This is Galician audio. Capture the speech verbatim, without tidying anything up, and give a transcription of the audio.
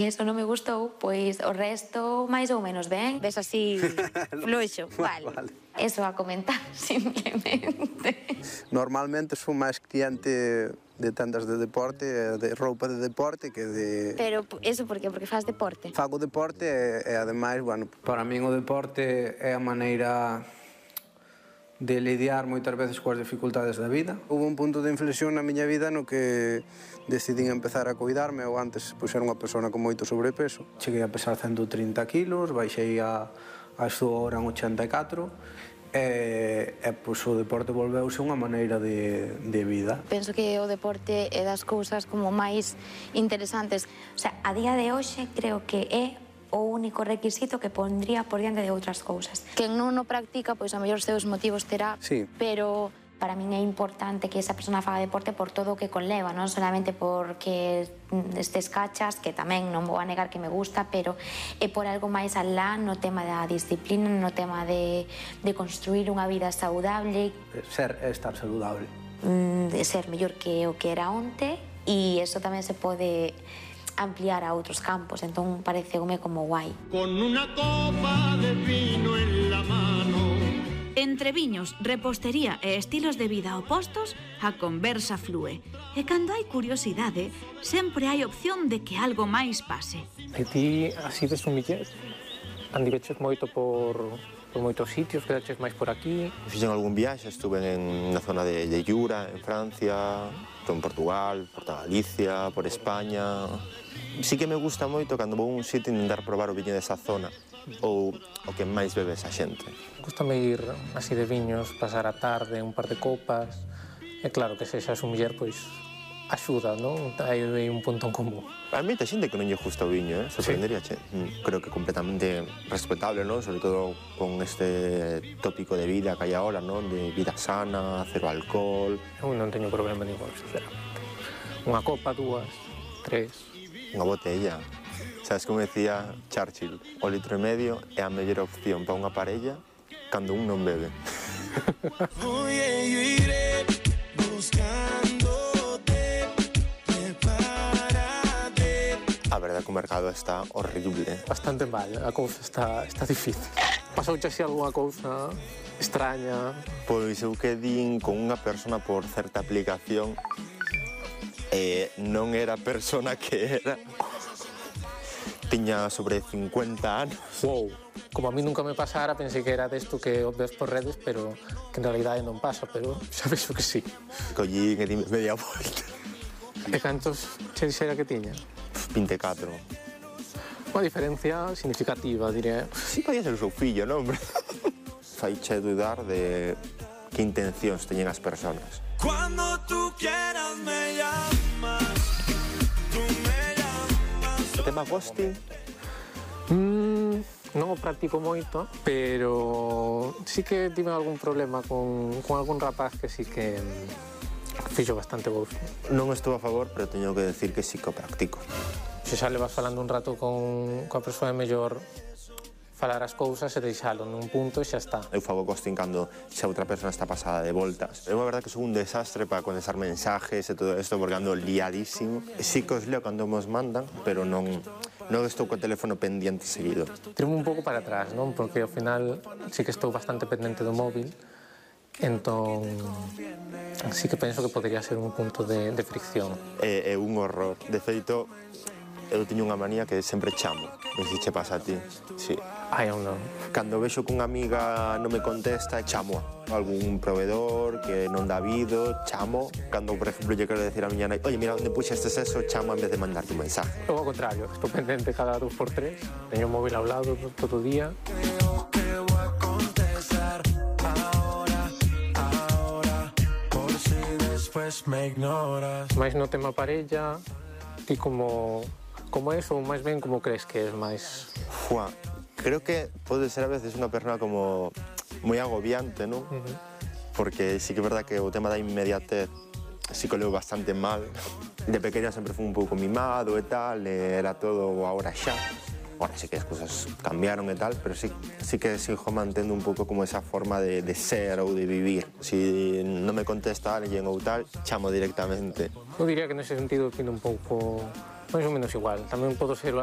E iso non me gustou, pois o resto máis ou menos ben. Ves así fluxo, vale. Vale. Eso a comentar, simplemente. Normalmente son máis cliente de tendas de deporte, de roupa de deporte que de... Pero eso por qué? Porque faz deporte? Fago deporte e, e ademais, bueno... Para min o deporte é a maneira de lidiar moitas veces coas dificultades da vida. Houve un punto de inflexión na miña vida no que decidín empezar a cuidarme. Eu antes pois, era unha persona con moito sobrepeso. Cheguei a pesar ciento trinta kilos, baixei a, a súa hora en ochenta e catro e, e pois, o deporte volveuse unha maneira de, de vida. Penso que o deporte é das cousas como máis interesantes. O sea, a día de hoxe creo que é o único requisito que pondría por diante de outras cousas. Quen non o practica, pois a mellor seus motivos terá, sí. Pero para min é importante que esa persona faga deporte por todo o que conleva, non solamente porque estes cachas, que tamén non vou a negar que me gusta, pero é por algo máis alá no tema da disciplina, no tema de, de construir unha vida saudable. Ser é estar saludable. De ser mellor que o que era onte, e eso tamén se pode ampliar a outros campos, entón pareceume como guai. Con unha copa de vino en la mano. Entre viños, repostería e estilos de vida opostos, a conversa flúe. E cando hai curiosidade, sempre hai opción de que algo máis pase. E ti, así de sumiller, andiveches moito por, por moitos sitios, quedaches máis por aquí? Fixen algún viaxe, estuve en na zona de, de Llura, en Francia, en Portugal, por Galicia, por España. Sí que me gusta moito cando vou a un sitio intentar probar o viño desa zona ou o que máis bebe esa xente. Gústame ir así de viños, pasar a tarde, un par de copas. E claro que se xa sumiller, pois axuda, non? Hai un punto en común. A mí te xente que non lle gusta o viño, eh? Sorprendería, che. Mm, creo que completamente respetable, non? Sobre todo con este tópico de vida que hai agora, non? De vida sana, cero alcohol. Eu non teño problema ningún, sinceramente. Unha copa, dúas, tres... Unha botella. Sabes como decía Churchill? O litro e medio é a mellor opción para unha parella cando un non bebe. Oye, yo iré buscándote, prepárate. A verdade que o mercado está horrible. Bastante mal, a cousa está, está difícil. Pasouche así algunha cousa extraña? Pois eu quedín con unha persona por certa aplicación e non era a persona que era. Tiña sobre cincuenta anos. Wow, como a mí nunca me pasara, pensei que era desto que o ves por redes, pero que en realidade non pasa, pero xa vexo que sí. Collín e dime media volta. E cantos che dixera que tiña? vinte e catro. Unha diferencia significativa, diré. Sí, podía ser o seu fillo, non? Faiche dudar de que intencións teñen as personas. Cuando tú quieras me llamas, tú me llamas. O tema ghosting? Mm, non o practico moito, pero sí que tive algún problema con, con algún rapaz que sí que fixo bastante ghosting. Non estou a favor, pero teño que decir que sí que o practico. Se xa le vas falando un rato con, coa persoa, é mellor falar as cousas e deixalo nun punto e xa está. Eu fago ghosting cando xa outra persona está pasada de voltas. É unha verdade que sou un desastre para contestar mensajes e todo isto porque ando liadísimo. Sí que os leo cando mos mandan, pero non, non estou co teléfono pendiente seguido. Tirome un pouco para atrás, non? Porque ao final sí que estou bastante pendente do móvil, entón sí que penso que podría ser un punto de, de fricción. É, é un horror. De feito, eu teño unha manía que sempre chamo. Non sei se che pasa a ti. Sí. Ai, eu non. Cando vexo que unha amiga non me contesta, chamo a algún proveedor que non dá vido, chamo. Cando, por exemplo, lle quero decir a miña nai, oye, mira, onde puxestes eso, chamo en vez de mandarte un mensaje. Eu ao contrario, estou pendente cada dos por tres. Teño o móvil ao lado todo o día. Creo que voy a contestar ahora, ahora, por si después me ignoras. Mais no tema parella, ti como... Como es ou máis ben como crees que es máis? Fua, creo que pode ser a veces unha persona como moi agobiante, non? Uh -huh. Porque sí que é verdad que o tema da inmediatez sí que o leo bastante mal. De pequeña sempre fui un pouco mimado e tal, e era todo agora xa. Ahora sí que as cousas cambiaron e tal, pero sí, sí que sigo mantendo un pouco como esa forma de, de ser ou de vivir. Si non me contesta alguén ou tal, chamo directamente. Eu diría que nese sentido opino un pouco máis ou menos igual. Tamén podo ser